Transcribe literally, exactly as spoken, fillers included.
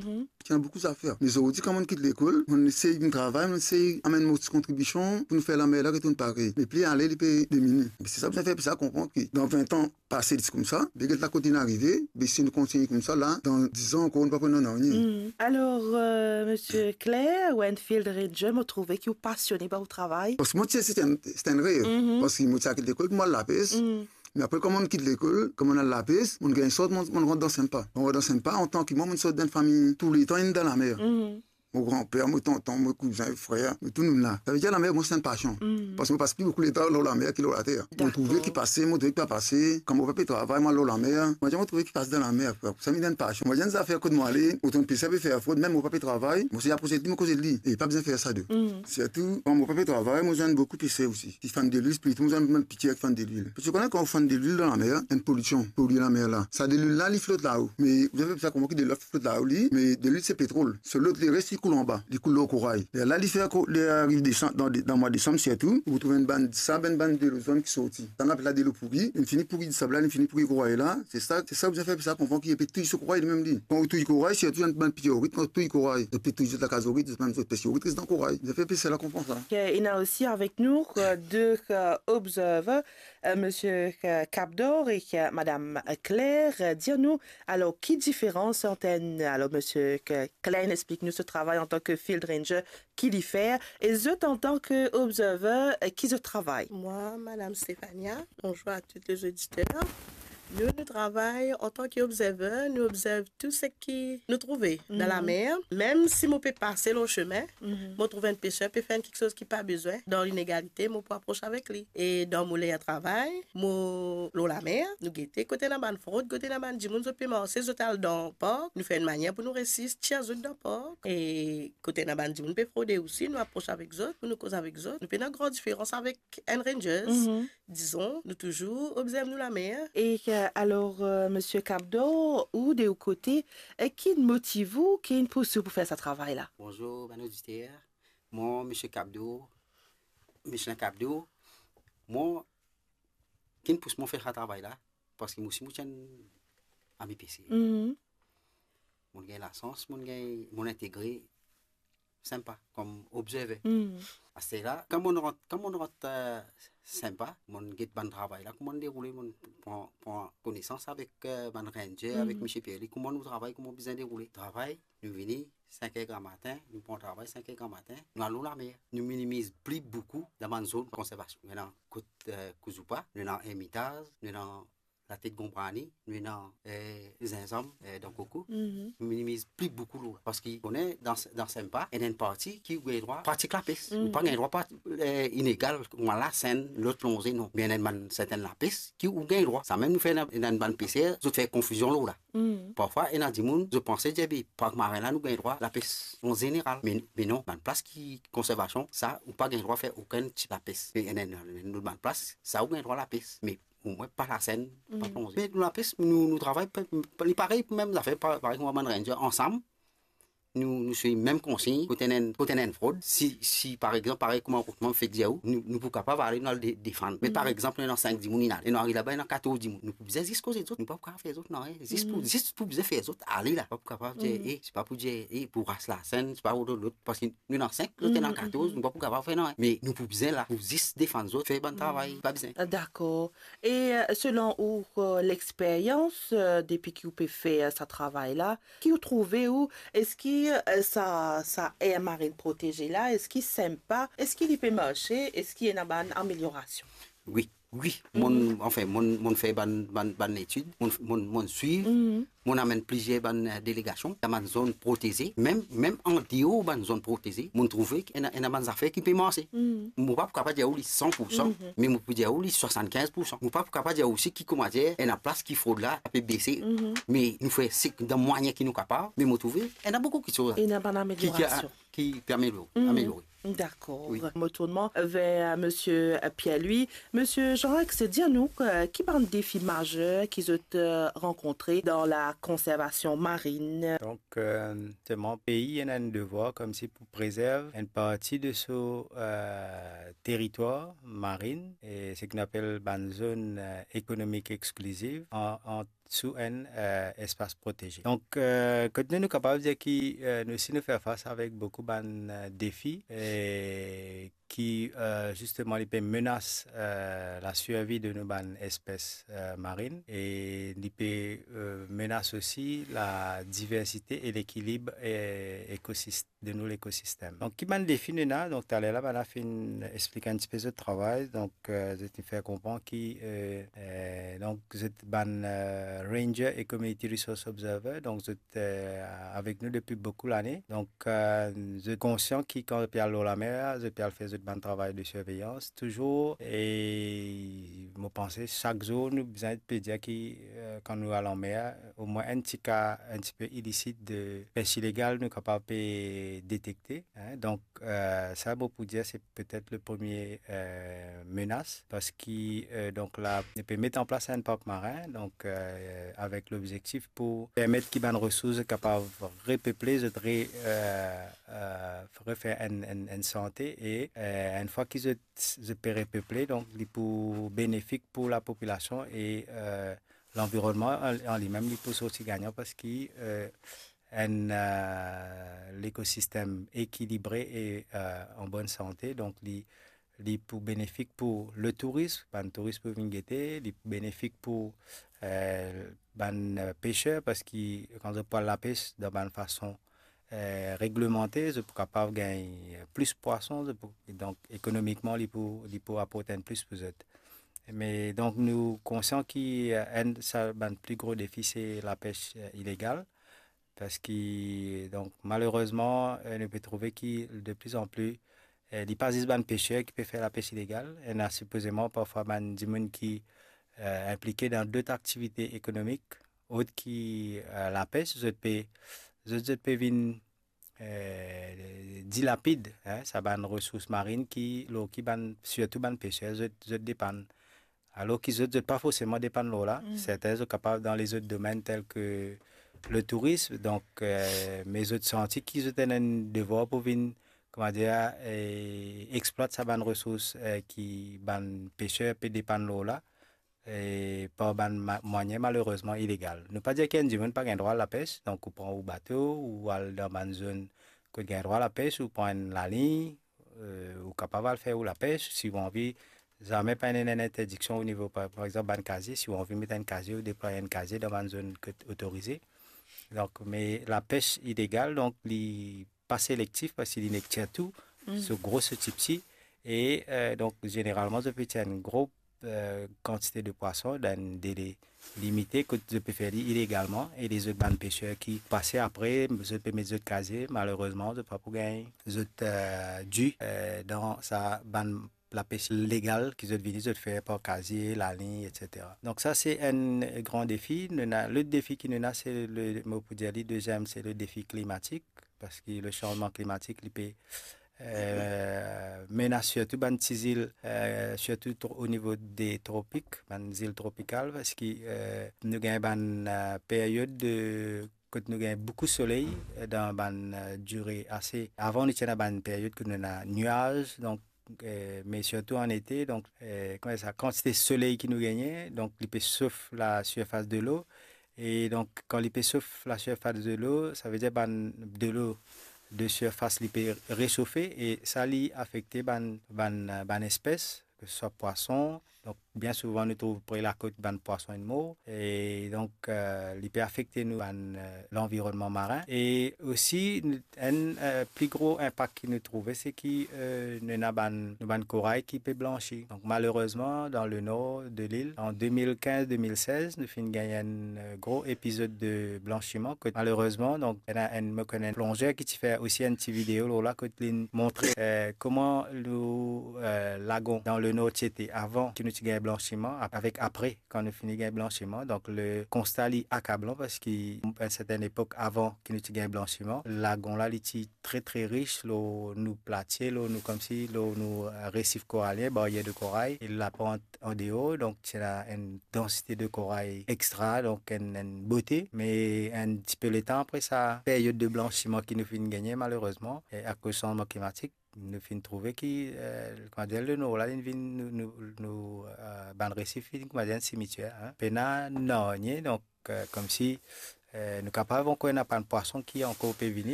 Ti ena boukou zafer. Me zordi, kan mo'nn kit lekol, mo'nn esey vinn travay, mo'nn esey amenn mo ti kontribision pou nou fer lamer la retourn parey. Me pli ale, li pe dimini. Me se sa bizin fer pep sa konpran ki dan vin an pase, li ti koumsa, be get la kot li'nn arive, be si nou kontigne koumsa la, dan diz an ankor, nou pa pou ena nanye. Alor, euh, Misie Claire, ou enn field ranger, mo trouve ki ou pasione par ou travay. Parski mo ti, se ti enn, se ti enn rev. Parski mo ti al kit lekol pou mo al lapes. Me apre, kan mo'nn kit lekol, kan mo'nn al lapes, mo'nn gagn sort, mo'nn, mo'nn rant dan Sempa. Mo'nn rant dan Sempa, antan ki mwa, mo'nn sort dan enn fami, touletan inn dan lamer. Mo granper, mo tonton, mo kouzin, frer, nou tou nou'nn la. Savedir lamer, mo, se enn pasion. Parski mo pas pli boukou letan lor lamer ki lor later. Mo trouve ki pase, mo trouve ki pa pase. Kan mo pa pe travay, mo al lor lamer. Mo dir, mo trouve ki pase dan lamer, frer. Sa vinn enn pasion. Mo dir, enn zafer kot mo ale, otan peser pe fer frod, mem mo pa pe travay, mo se apros li, mo koz li. E pa bizin fer sa de. Sirtou, kan mo pa pe travay, mo zwenn boukou peser osi. Ki fann delwil, sirtou mo zwenn bann pitir ki fann delwil. Parski ou kone kan ou fann delwil dan lamer, enn polision, polye lamer la. Sa delwil la, li flot lao. Me ou bizin fer sa kouma ki delwil la flot lao li, me delwil se petrol. So lot leres, li koul anba, li koul lor koray. Lerla li fer ko-, li ariv desanm, dan de-, dan mwa desam sirtou, ou trouv enn bann disab, enn bann delo zonn ki sorti. Sa nou apel la delo pouri, li fini pouri disab la, li fini pouri koray la. Se sa, se sa ou bizin fer, sa konpran ki li pe touy so koray limem li. Kan ou touy koray, sirtou enn bann pitir orit, kan ou touy koray, zot pe touy zot lakaz orit, zot mem zot pes orit, res dan koray. Bizin fer pep sa konpran sa. Ena osi avek nou, euh, de, euh, observer, euh, Misie, euh, Capdor e, euh, Madam Claire. Euh, dir nou, alor, ki diferans ant enn, alor, Misie, euh, Klein, explik nou so travay antan ki field ranger, ki li fer, e zot antan ki observer, euh, ki zot travay? Moi, Madame Stéphania, bonjour à tous les auditeurs. Nou, nou travay antan ki observer, nou observ tou seki nou trouve dan lamer. Mem si mo pe pase lor sime, mo trouv enn peser pe fer enn kiksoz ki pa bizin, dan linegalite, mo pou apros avek li. E dan mo ler travay, mo lor lamer, nou gete kot ena bann frod, kot ena bann dimoun zot pe marse, zot al dan park, nou fer enn manier pou nou resis tir zot dan park. E kot ena bann dimoun pe frode osi, nou apros avek zot, pou nou koz avek zot. Nou pena gran diferans avek enn rangers. Dizon, nou touzour observ nou lamer. E, euh, alor, euh, Misie Capdor, ou de ou kote, euh, ki'nn motiv ou, ki'nn pous ou pou fer sa travay la? Bonzour, bann oditer. Mwa, Misie Capdor, Michelin Capdor, mwa, ki'nn pous mwa fer sa travay la, parski mwa osi mo ti enn ami peser. Mo'nn gagn lasans, mo'nn gagn, mo'nn integre Sempa kom observer. Aster la, kan mo'nn rant, kan mo'nn rant, euh, Sempa, mo'nn get bann travay la, kouma li deroule, mo'nn pran, pran konesans avek, euh, bann ranger, avek Misie Pierre, li, kouma nou travay, kouma bizin deroule. Travay, nou vini sink er gramatin, nou pran travay sink er gramatin, nou al lor lamer. Nou minimiz pli boukou dan bann zonn konservasion. Nou ena kot, euh, Kouzoupa, nou ena Ermitaz, nou ena Latet Gonbrani, nou ena, euh, Zinzam, euh, dan Koko. Nou minimiz pli boukou lor la. Parski, ou kone, dan, dan Sempa, ena enn parti ki ou gagn drwa pratik lapes. Ou pa gagn drwa pa, euh, inegal, kouma lasenn, lot plonze, non. Me ena enn bann sertenn lapes ki ou gagn drwa. Samem nou fer ena, ena enn bann peser, zot fer konfizion lor la. Parfwa, ena dimoun, zot panse dir, be, park marin la, nou gagn drwa lapes an zeneral. Me, me non, bann plas ki konservasion, sa, ou pa gagn drwa fer okenn tip lapes. Me ena, ena, ena bann plas, sa, ou gagn drwa lapes. Me omwin pa lasenn, pa plonze. Me nou lapes, nou, nou travay, pa, pa, li parey, mem zafer, pa, parey kouma bann ranger, ansam, nou, nou swiv mem konsign, kot ena enn, kot ena enn frod, si, si, par exanp, parey kouma, kouma mo fek dir ou, nou, nou pou kapav ale, nou al de-, defann. Me par exanp, nou ena sink dimoun, inn ale, e nou ariv laba, ena katorz dimoun. Nou pou bizin zis koz zot, nou pa pou kapav fer zot nanye, zis pou, zis pou bizin fer zot ale la. Pa pou kapav dir, e, se pa pou dir, e, pou ras lasenn, se pa pou lot, parski nou ena sink, lot ena katorz, nou pa pou kapav fer nanye. Me nou pou bizin la, pou zis defann zot, fer bann travay, pa bizin. Dakor. E, euh, selon ou, euh, lexperyans, euh, depi ki ou pe fer sa travay la, ki ou trouve ou, eski, euh, sa, sa aire marine protégée la, eski Sempa, eski li pe marse, eski ena bann ameliorasion? Wi, wi. Mo'nn, anfin, mo'nn, mo'nn fer bann, bann, bann etid, mo'nn, mo'nn, mo'nn swiv, mo'nn amenn plizier bann, euh, delegasion dan bann zonn proteze, mem, mem andeor bann zonn proteze, mo'nn trouve ki ena, ena bann zafer ki pe marse. Mo pa pou kapav dir ou li san pou san, me mo pou dir ou li swasannkinz pou san. Mo pa pou kapav dir ou osi ki, kouma dir, ena plas ki frod la pe bese. Me nou fer seki dan mwayin ki nou kapav, me mo trouve ena boukou kiksoz ena bann ki, ki, ameliorasion, ki pe ameliore, ameliore. Dakor. Wi. Mo tourn mwa ver Misie Pierre-Louis. Misie Jean-Rex, dir nou, euh, ki bann defi mazer ki zot, euh, rankontre dan la konservasion marin? Donk, euh, selman pei ena enn devwar koumsi pou prezerv enn parti de so, euh, teritwar marin, e seki nou apel bann zonn, euh, ekonomik exkliziv, an, ant sou enn, eh, espas proteze. Donk, eh, kot nou, nou kapav dir ki, eh, nou osi nou fer fas avek boukou bann, eh, defi, eh, ki, eh, zisteman, li pe menas, eh, lasurvi de nou bann espes, eh, marinn, e li pe, eh, menas osi ladiversite e lekilib, eh, ekosist-, de nou lekosistem. Donk, ki bann defi nou ena? Donk, taler la, bann la finn explik enn tipe zot travay. Donk, eh, zot finn fer konpran ki, eh, eh, donk, zot bann, eh, ranger e community resource observer. Donk, zot, eh, avek nou depi boukou lane. Donk, eh, zot konsian ki kan zot pe al lor lamer, zot pe al fer zot bann travay de sirveyans touzour. E mo panse sak zour nou bizin pe dir ki, eh, kan nou al anmer, omwin enn ti ka enn tipe ilisit de pes ilegal nou kapav pe detekte, hein. Donk, eh, sa mo pou dir se petet le premie, eh, menas, parski, eh, donk la, nou pe met an plas enn park marin, donk, eh, avek lobzektif pou permet ki bann resours kapav repeple, zot re-, eh, eh, refer enn, enn, enn sante, e, eh, enn fwa ki zot, zot pe repeple, donk li pou benefik pou lapopilasion e, eh, lanvironnman an, an limem, li pou sorti gagnan, parski, eh, enn, eh, lekosistem ekilibre e, eh, an bonn sante, donk li, li pou benefik pou letouris, bann touris pou vinn gete, li pou benefik pou, eh, bann, eh, peser, parski kan zot pou al lapes dan bann fason, eh, reglemante, zot pou kapav gagn plis pwason, zot pou, donk ekonomikman, li pou, li pou aport enn plis pou zot. Me donk, nou konsian ki, eh, enn sa bann pli gro defi, se lapes, eh, ilegal. Parski, donk, malerezman, eh, nou pe trouve ki de pli an pli, eh, li pa zis bann peser ki pe fer lapes ilegal. Ena sipozeman parfwa bann dimoun ki, eh, inplike dan dot aktivite ekonomik, ot ki, eh, lapes, zot pe, zot, zot pe vinn, eh, dilapid, hein, sa bann resours marinn ki, lor ki bann, sirtou bann peser, zot, zot depann. Alor ki zot, zot pa forseman depann lor la. Mm. Sertin zot kapav dan lezot domenn tel ke letourism, donk, eh, me zot santi ki zot ena enn devwar pou vinn, kouma dir, eh, explwat sa bann resours, eh, ki bann peser pe depann lor la, eh, par bann ma-, mwayin malerezman ilegal. Nou pa dir ki enn dimoun pa gagn drwa al lapes, donk ou pran ou bato, ou al dan bann zone kot gagn drwa lapes, ou pran enn lalign, eh, ou kapav al fer ou lapes, si ou anvi, zame pa ena enn interdiksion o nivo, par, par exanp, bann kazie, si ou anvi met enn kazie, ou deplway enn kazie dan bann zone kot otorize. Donk, me lapes ilegal, donk, li pa selektif, parski li nek tir tou, mm, so gro, so tipti, e, eh, donk, zeneralman, zot pe tir enn gro, eh, kantite de pwason dan enn dele limite, kot zot pe fer li ilegalman, e lezot bann peser ki pase apre, zot pe met zot kazie, malerezman, zot pa pou gagn zot, eh, di, eh, dan sa bann lapes legal ki zot vini, zot fer par kazie, lalign, et cetera. Donk sa se enn gran defi. Nou ena, lot defi ki nou ena, se le, mo pou dir li deziem, se le defi klimatik, parski le sanzman klimatik, li pe, eh, menas sirtou bann ti zil, eh, sirtou tro-, o nivo de tropik, bann zil tropikal, parski, eh, nou gagn bann, eh, peryod de kot nou gagn boukou soley, eh, dan bann, eh, dire ase. Avan, nou ti ena bann peryod kot nou ena niaz, donk, eh, me sirtou an ete, donk, eh, kouma sa, kantite soley ki nou gagne, donk li pe sof lasirfas delo, e donk, kan li pe sof lasirfas delo, savedir bann delo de sirfas li pe resofe, e sa li afekte bann, bann, eh, bann espes, ke se swa pwason. Donk, bien souvan, nou trouv pre lakot bann pwason inn mor. E donk, eh, li pe afekte nou bann, eh, lanvironnman marin. E osi, enn, eh, pli gro inpak ki nou trouve, se ki, eh, nou ena bann, nou bann koray ki pe blansi. Donk, malerezman, dan lenor de lil, an de mil kinz, de mil sez, nou finn gagn enn, eh, gro epizod de blansiman. Kot malerezman, donk, ena enn, mo konn enn plonzer ki ti fer osi enn ti video lor la, kot li montre, eh, kouma lou, eh, lagon dan lenor ti ete avan ki nou ti gagn blansiman, ap-, avek apre, kan nou fini gagn blansiman. Donk, le konsta li akablan, parski enn sertenn epok avan ki nou ti gagn blansiman, lagon la, li ti tre, tre ris lor nou platie, lor nou, koumsi, lor nou, eh, resif koralien, baryer de koray, e lapant andeor, donk, ti ena enn dansite de koray extra, donk enn, enn bote. Me enn tipe letan apre sa peryod de blansiman ki nou finn gagne, malerezman, e akoz sanzman klimatik, nou finn trouve ki, eh, koumadir, lenor la, linn vinn nou, nou, nou, eh, bann resif, vinn koumadir enn simitier, hein. Pena nanye, donk, eh, koumsi, eh, nou kapav ankor ena bann pwason ki ankor pe vini,